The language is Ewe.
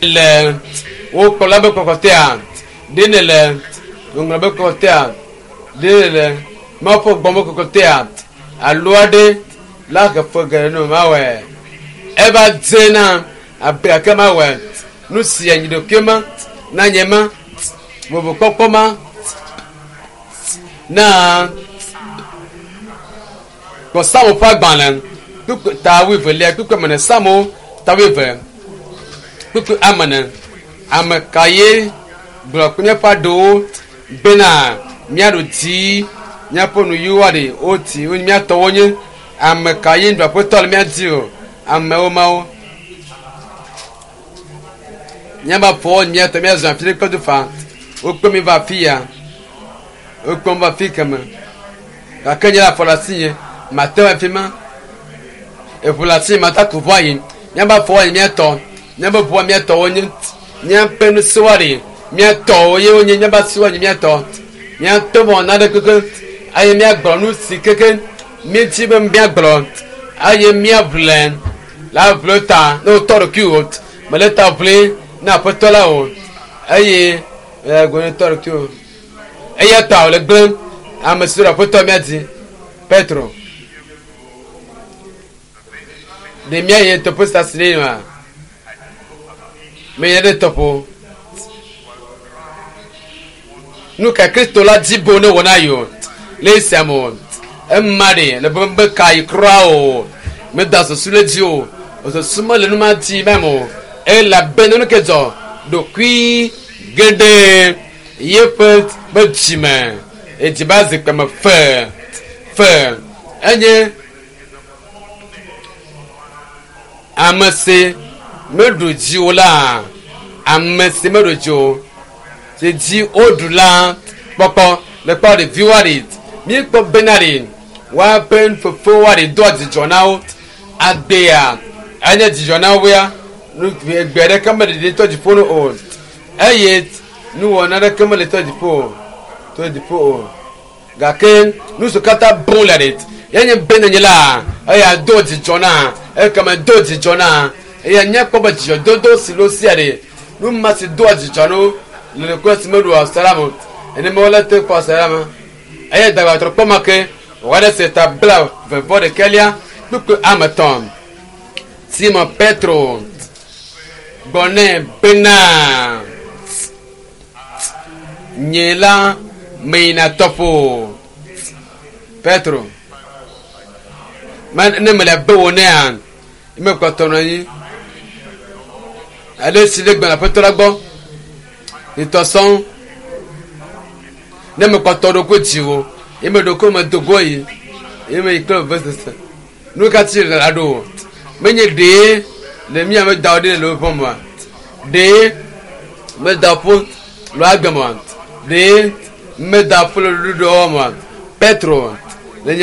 Le wo kplɔla be kɔkɔtea? Ɖe nèle ŋɔŋlɔ be kɔkɔtea? Ɖe nèle Mawu ƒe gbɔgbɔ kɔkɔtea? Alo aɖe la he fe geɖe no mawɔe. Eva dze na abe gake mawɔe. Nu si anyi ɖokui ma na nye ma vovokpɔkpɔ ma na kpɔ Psalmo ƒe agbalẽ kpukpui ta wuievelia kpukpui ame ene Psalmo ta wuieve kpukpui ame ene. Ame ka ye gblɔ kple míaƒe aɖewo bena míaɖu dzi míaƒe nuyiwo aɖe woti míatɔwo nye ame ka ye ɖu aƒetɔ le mía dzi o amewo mawo míaƒe afɔwo míatɔ míazɔ afi ɖe kple du fa wokpe mi va afi ya wokpe mi va afi keme gake nye afɔ le asinye mate ŋu afi ma eʋu le asinye mate aku ʋua yi míaƒe afɔwo nye míatɔ míaƒe ʋua míatɔwo nye míaƒe nusiwo aɖe míatɔwo ye wonye míaƒe asiwo nye míatɔ míatɔ vɔ na ɖe keke eye míagblɔ nu si keke míetsi be míagblɔ eye míaʋle la ʋle ta ne wotɔ ɖokuiwò mele ta ʋli na aƒetɔ la o eye gɔne tɔ ɖokuiwò eya ta wòle gblẽ ame si ɖe aƒetɔ míadi Petro ɖe míayi tɔƒe sia si ɖe ma meyɛ ɖe tɔƒo nu ka Kristo la dzi bo ne wɔ na yi o le esia me o ema ɖe le be be ka yi kura o meda susu le dzi o susu mele nu ma dzi mɛ o elabena nu ke dzɔ ɖokui geɖe yeƒe be dzime edzi ba zikpui me fe fe enye ame si meɖu dzi o la ame si meɖu dzi o si dzi woɖu la kpɔkpɔ le kpɔ ɖeviwo aɖe míekpɔ bena ɖe woaƒe fofo aɖe doa dzidzɔ na wo agbea enye dzidzɔ na wo ya nu egbe ɖeke mele ɖe tɔ dziƒo no o eye nuwɔna ɖeke mele tɔ dziƒo o tɔ dziƒo o gake nu siwo katã bɔm le ɖe yenye bena nye la eya do dzidzɔ na ekeme do dzidzɔ na eya nye kpɔ be dzidzɔdodo si lo sia ɖe nu ma si doa dzidzɔ no le ɖekɔ si meɖu asara me ene me wole te kpɔ asara me eye dagbatrɔ kpɔ ma ke wɔɖe se ta bla vevɔ ɖekɛlia kpukpui ame tɔn Simon Petro gblɔ nɛ bena nye la meyina tɔƒo Petro ne mele be wo nea mekpɔtɔ nɔ anyi ale si ɖe gbɔna aƒetɔ la gbɔ nitɔ sɔŋ ne mekpɔtɔ ɖokui dziwò ye me ɖokui me do go yi ye me yi kple vevesese nu ka tsi le la ɖo menye ɖee le mía me da wo ɖe le woƒe mɔa ɖee meda ƒo le agbe mɔa ɖee meda ƒo le ɖuɖuɖɔ mɔa Petro le nya.